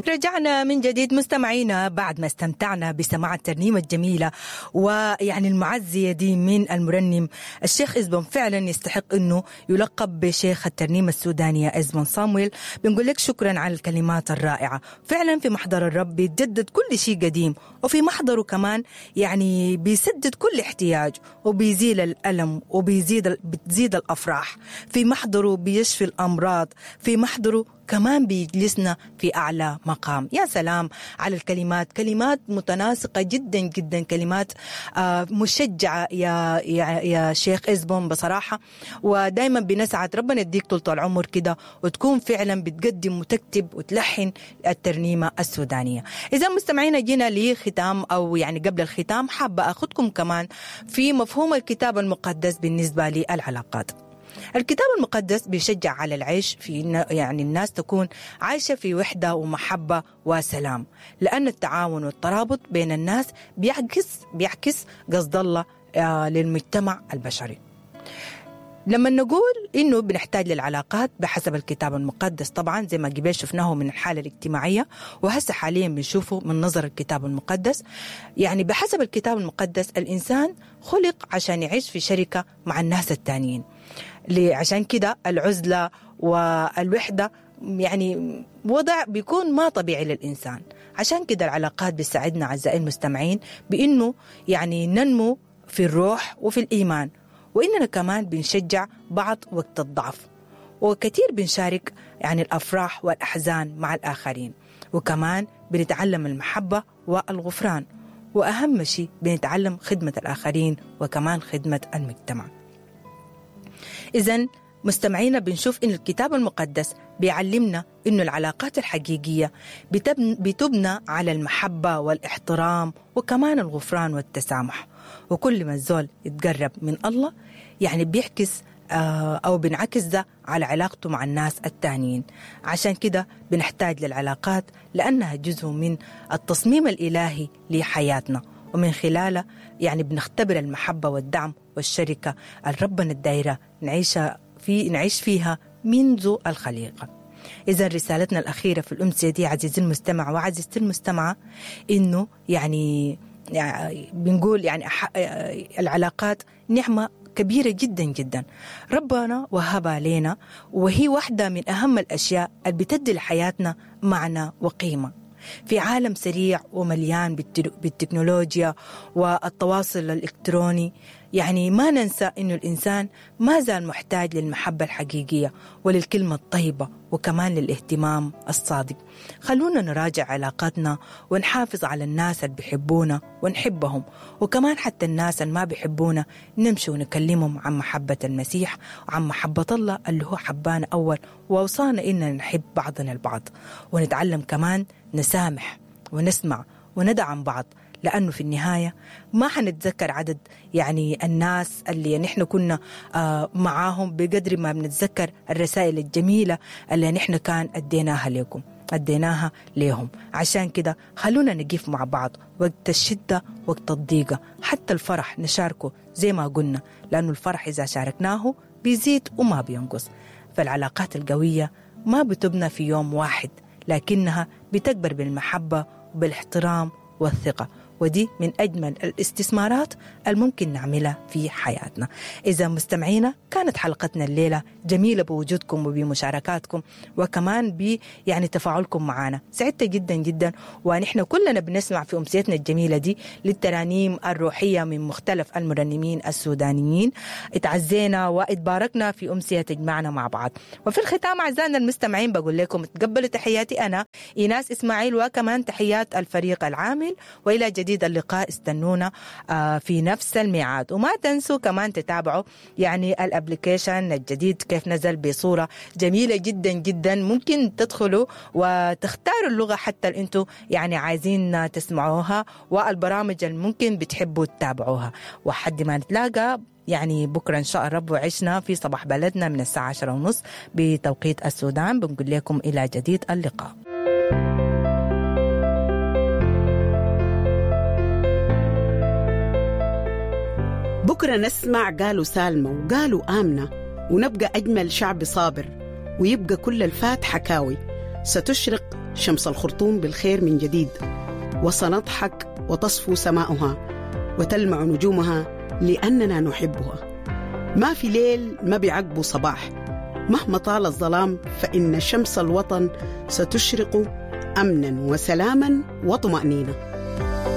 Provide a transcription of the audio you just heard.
رجعنا من جديد مستمعينا بعد ما استمتعنا بسماع الترنيمة الجميلة ويعني المعزية دي من المرنم الشيخ إزبون. فعلا يستحق أنه يلقب بشيخ الترنيمة السودانية إزبون صامويل. بنقول لك شكرا على الكلمات الرائعة. فعلا في محضر الرب بيتجدد كل شيء قديم، وفي محضره كمان يعني بيسدد كل احتياج وبيزيل الألم وبيزيد بتزيد الأفراح. في محضره بيشفي الأمراض، في محضره كمان بيجلسنا في أعلى مقام. يا سلام على الكلمات، كلمات متناسقة جدا جدا، كلمات مشجعة يا, يا, يا شيخ إزبون بصراحة. ودايما بنسعد ربنا يديك طولة العمر كده وتكون فعلا بتقدم وتكتب وتلحن الترنيمة السودانية. إذا مستمعينا جينا لختام أو يعني قبل الختام حابة أخذكم كمان في مفهوم الكتاب المقدس بالنسبة للعلاقات. الكتاب المقدس بيشجع على العيش في يعني الناس تكون عايشة في وحدة ومحبة وسلام، لأن التعاون والترابط بين الناس بيعكس قصد الله للمجتمع البشري. لما نقول إنه بنحتاج للعلاقات بحسب الكتاب المقدس، طبعا زي ما قبل شفناه من الحالة الاجتماعية وهسه حاليا بنشوفه من نظر الكتاب المقدس، يعني بحسب الكتاب المقدس الإنسان خلق عشان يعيش في شركة مع الناس التانيين. عشان كده العزلة والوحدة يعني وضع بيكون ما طبيعي للإنسان. عشان كده العلاقات بتساعدنا أعزائي المستمعين بإنه يعني ننمو في الروح وفي الإيمان، وإننا كمان بنشجع بعض وقت الضعف، وكثير بنشارك يعني الأفراح والأحزان مع الآخرين، وكمان بنتعلم المحبة والغفران، وأهم شيء بنتعلم خدمة الآخرين وكمان خدمة المجتمع. إذن مستمعينا بنشوف إن الكتاب المقدس بيعلمنا إنه العلاقات الحقيقية بتبنى على المحبة والاحترام وكمان الغفران والتسامح. وكل ما الزول يتقرب من الله يعني بيعكس أو بنعكس ده على علاقته مع الناس التانيين. عشان كده بنحتاج للعلاقات لأنها جزء من التصميم الإلهي لحياتنا، ومن خلاله يعني بنختبر المحبة والدعم والشركة الربنا الدايرة نعيش فيها منذ الخليقة. إذا رسالتنا الأخيرة في الأمسية دي عزيزي المستمع وعزيزتي المستمعة إنه يعني بنقول يعني العلاقات نعمة كبيرة جدا جدا ربنا وهبها لنا، وهي واحدة من أهم الأشياء اللي بتدي لحياتنا معنى وقيمة. في عالم سريع ومليان بالتكنولوجيا والتواصل الإلكتروني، يعني ما ننسى إنه الإنسان ما زال محتاج للمحبة الحقيقية وللكلمة الطيبة وكمان للاهتمام الصادق. خلونا نراجع علاقاتنا ونحافظ على الناس اللي بيحبونا ونحبهم، وكمان حتى الناس اللي ما بيحبونا نمشي ونكلمهم عن محبة المسيح وعن محبة الله اللي هو حبانا أول ووصانا إننا نحب بعضنا البعض، ونتعلم كمان نسامح ونسمع وندعم بعض، لأنه في النهاية ما حنتذكر عدد يعني الناس اللي نحن كنا معاهم بقدر ما بنتذكر الرسائل الجميلة اللي نحن كان أديناها ليهم. عشان كده خلونا نقف مع بعض وقت الشدة وقت الضيقة، حتى الفرح نشاركه زي ما قلنا، لأنه الفرح إذا شاركناه بيزيد وما بينقص. فالعلاقات القوية ما بتبنى في يوم واحد، لكنها بتكبر بالمحبة وبالاحترام والثقة، ودي من أجمل الاستثمارات الممكن نعملها في حياتنا. إذا مستمعينا كانت حلقتنا الليلة جميلة بوجودكم وبمشاركاتكم وكمان ب يعني تفاعلكم معنا، سعدت جدا جدا. ونحن كلنا بنسمع في أمسيتنا الجميلة دي للترانيم الروحية من مختلف المرنمين السودانيين. اتعزينا واتباركنا في أمسية تجمعنا مع بعض. وفي الختام أعزائنا المستمعين بقول لكم تقبلوا تحياتي أنا إيناس إسماعيل، وكمان تحيات الفريق العامل، وإلى جديد اللقاء. استنونا في نفس الميعاد، وما تنسوا كمان تتابعوا يعني ال application الجديد كيف نزل بصورة جميلة جدا جدا. ممكن تدخلوا وتختاروا اللغة حتى اللي انتوا يعني عايزين تسمعوها، والبرامج اللي ممكن بتحبوا تتابعوها. وحد ما نتلاقى يعني بكرة إن شاء الرب وعشنا في صباح بلدنا من الساعة 10:30 بتوقيت السودان. بنقول لكم إلى جديد اللقاء. بكرة نسمع قالوا سالمة وقالوا آمنة، ونبقى أجمل شعب صابر، ويبقى كل الفات حكاوي. ستشرق شمس الخرطوم بالخير من جديد، وسنضحك وتصفو سماؤها وتلمع نجومها لأننا نحبها. ما في ليل ما بيعقبه صباح، مهما طال الظلام فإن شمس الوطن ستشرق أمنا وسلاما وطمأنينة.